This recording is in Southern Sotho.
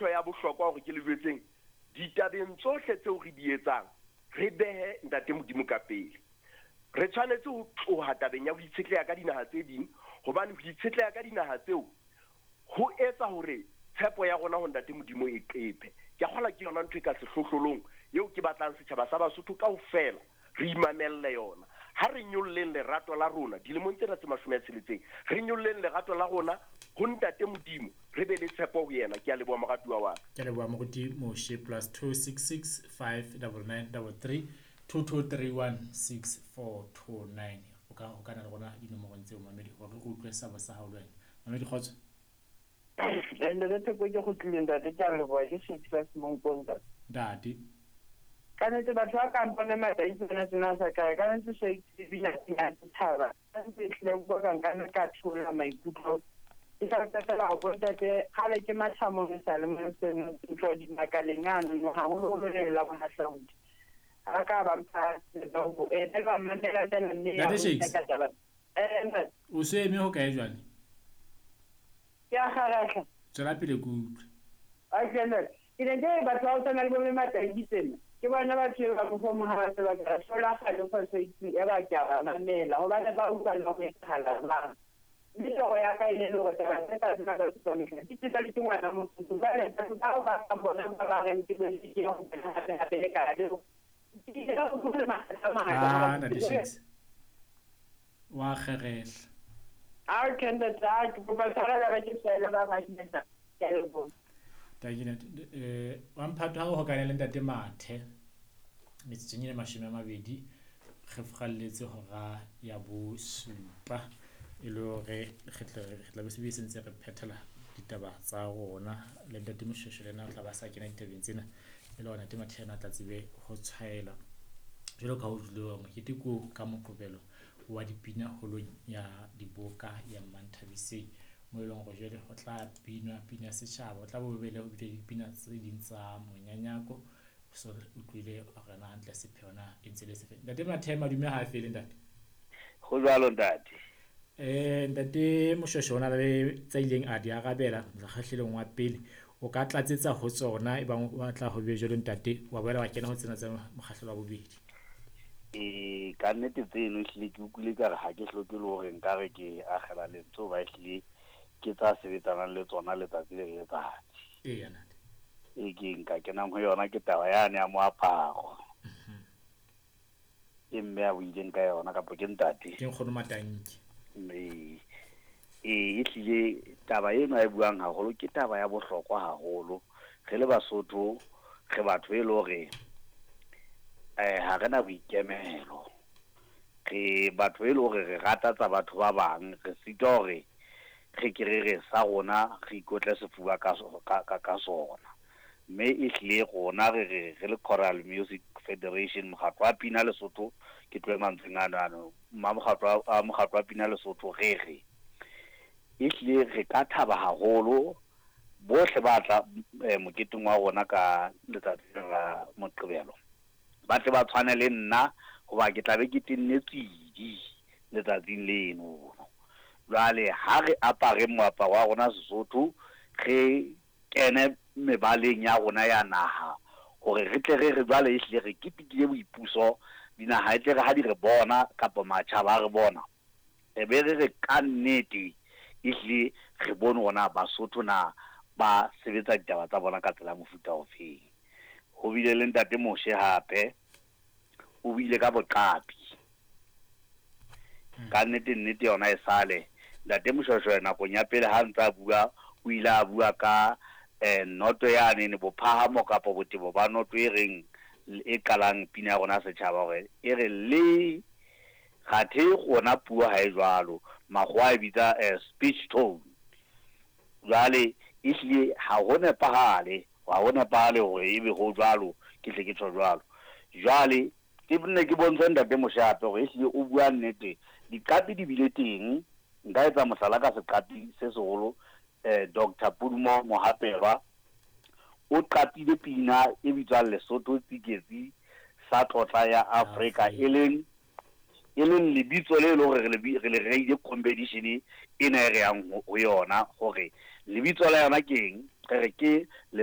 ntho ya bohlokwa hore ke le jwetseng, ditabeng tsohle tseo re di etsang, re behe Ntate Modimo ka pele. Re tshwanetse ho tloha tabeng ya ho itshetleha ka dinaha tse ding, hobane ho itshetleha ka dinaha tseo ho etsa hore tshepo ya rona ho Ntate Modimo e qephe. Ke a kgolwa ke yona ntho e ka sehlohlolong eo ke batlang setjhaba sa Basotho kaofela re imamelle yona. Ha re nyolleng lerato la rona dilemong tsena tse 60, re nyolleng lerato la rona ho Ntate Modimo, re be le tshepo ho yena. Ke a leboha, moratuwa wa ka. Ke a leboha, moruti Moshe. +266 599 33 2231 6429. O ka hokana le rona dinomorong tseo, mamedi, hore re utlwe sabo sa hao le wena. Mamedi, kgotso. Ntate Theko, ke kgutlile, ntate, ke a leboha. Ke Shakespeare Semonkong, ntate. Ntate. Ka nnete batho ba kang bone mataitsi bana tsena sa kae. Ka nnete Shakespeare bina ya setjhaba. Ka nnete ehlile bua ka nka nna ka theola maikutlo. Ke hlalosa fela hore bontate kgale ke matha mono sa le mo seno ntlo dimakaleng ano haholoholo le la bohahlaudi. Ha ka ba mpha tsebo e ba mamela fela mme ya Ntate Shakes. ka taba. Ntate. O se eme ho kae jwale? Ke a kgarahla. Tswela pele ke utlwe. Okay, ntate. Ke ne ke re batho ba ho tshwana le bo mme Mataiki tsena. Ke bona batho ba mohlomong ha ba se ba ka hlola kgale phoso ya ba ke a ba mamela hobane ba utlwa le ho etsahala jwang. Mme toro ya ka e ne le hore taba tse ka tsena ka tsamaiso di tseba le ke ngwana motho. Jwale batho bao ba ka bona ba ba reng ke bone ke ho bona hape hape le ka leo. Ke ile ka utlwa makgetlo a mangata. Ah, Ntate Shakes. Wa kgerehla. A ke ntate, a ke kopa tshwarelo re ke fela ba ba ntate. Ke a leboha. Takina, wa mphato ha o hokane le Ntate Mathe metsotsong e 20 re furalletse hora ya 7, e le hore re tla be se se ntse re phethela ditaba tsa rona le Ntate Moshweshwe, le yena o tla ba sa kena ditabeng tsena, e le hore Ntate Mathe yena a tla tsebe ho tshwaela jwalo ka ho dule mokete ko ka Moqebelo wa dipina holong ya diboka ya Manthabiseng, mo e leng hore jwale ho tla binwa pina ya setjhaba, ho tla bo be le ho bile dipina tse ding tsa monyanyako. So re utlwile hore na hantle sepheo na e ntse le sefe. Ntate Mathe, madume ha a fele, ntate. Ho jwalo, ntate. Ntate Moshweshwe o na le tsa ileng a di arabela mokgahlelong wa pele, o ka tlatsetsa ho tsona e bang o batla ho be jwalo, ntate, wa boela wa kena ho tsena tsa mokgahlelo wa bobedi. Ka nnete tseno ehlile ke utlwile ka re ha ke hloke le hore nkare ke akgela lentswe, hoba ehlile ke tsa sebetsanang le tsona letsatsi le letsatsi. Eya, ntate. E ke nka kenang ho yona ke taba yane ya moaparo. E mme a buileng ka yona kapa ke ntate? Ke nkgono Matanki. Ee, ehlile taba eno a e buang haholo ke taba ya bohlokwa haholo. Re le Basotho re batho e le hore ha re na boikemelo. Re batho e le hore re rata tsa batho ba bang, re sitwa hore re ke re re sa rona re ikotle sefuba ka sona. Mme ehlile rona re re re le Choral Music Federation, mokgatlo wa pina Lesotho, ke tlohe mantsweng ano ano, ma mokgatlo wa mokgatlo wa pina Lesotho, re re ehlile re ka thaba haholo bohle ba tla moketeng wa rona ka letsatsi la Moqebelo, ba tle ba tshwane le nna, hoba ke tla be ke tenne tswidi letsatsing leno. Jwale ha re apare moaparo wa rona Sesotho, re kene mebaleng ya rona ya naha, hore re tle re re jwale ehlile re ketekile boipuso, dinaha e tle re ha di re bona kapa matjhaba a re bona, re be re re ka nnete ehlile re bone hore na Basotho na ba sebetsa ditaba tsa bona ka tsela ya mofuta ofeng. Ho bile le Ntate Moshe hape, o buile ka boqapi. Ka nnete nnete yona e sale Ntate Moshweshwe nakong ya pele ha ntse a bua, o ile a bua ka noto yane ne bophahamo kapa botebo ba noto e reng e qalang pina ya rona setjhaba, hore e re le kgathe rona puo ha e jwalo, makgowa a e bitsa speech tone. Jwale ehlile ha ho nepahale, ha ho nepahale hore ebe ho jwalo, ke hle ke tjho jwalo. Jwale ke nne ke bontshe Ntate Moshe hape hore ehlile o bua nnete, diqapi di bile teng. Nka etsa mohlala ka seqapi se seholo, Dr. Pudumo Mohapelwa o qapile pina e bitswang Lesotho Tsiketsi sa tlotla ya Afrika, e leng lebitso le leng hore re le reile competition ena e re yang ho yona, hore lebitso la yona ke eng, re re ke